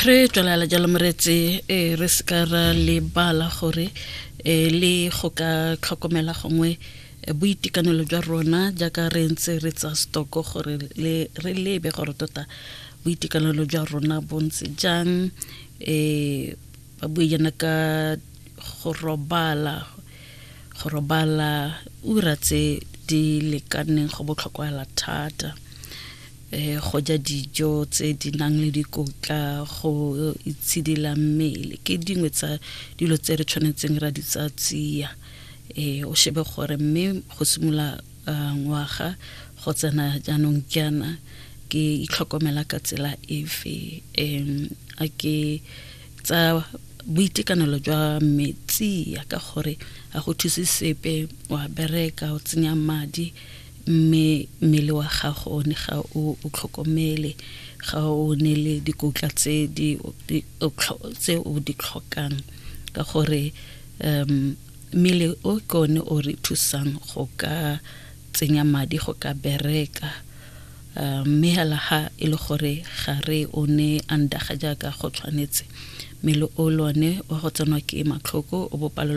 Re tswelela jalo moreetsi, re seka ra lebala gore le go ka tlhokomela gongwe boitekanelo jwa rona jaaka re ntse re tsa stoko gore re lebe gore tota boitekanelo jwa rona bo ntse jang. Ba bue jaana ka go robala, go robala ura tse di lekaneng go botlhokwa thata, go ja dijo tse di nang le dikotla, go itshidila mmele ke dingwe tsa dilo tse re tshwanetseng ra di tsaya tsia. O shebe gore mme go simolola ngwaga go tsena jaanong jaana ke itlhokomela ka tsela efe, a ke tsa boitekanelo jwa metsi ka gore ga go thuse sepe wa bereka o tsenya madi mme mmele wa gago one ga o tlhokomele, ga o ne le dikotla tse o di tlhokang, ka gore mmele o ke one o re thusang go ka tsenya madi, go ka bereka, mme hela ha e le gore ga re o ne andaga jaaka go tshwanetse, mmele o lone wa go tsenwa ke matlhoko, o bo palelwa.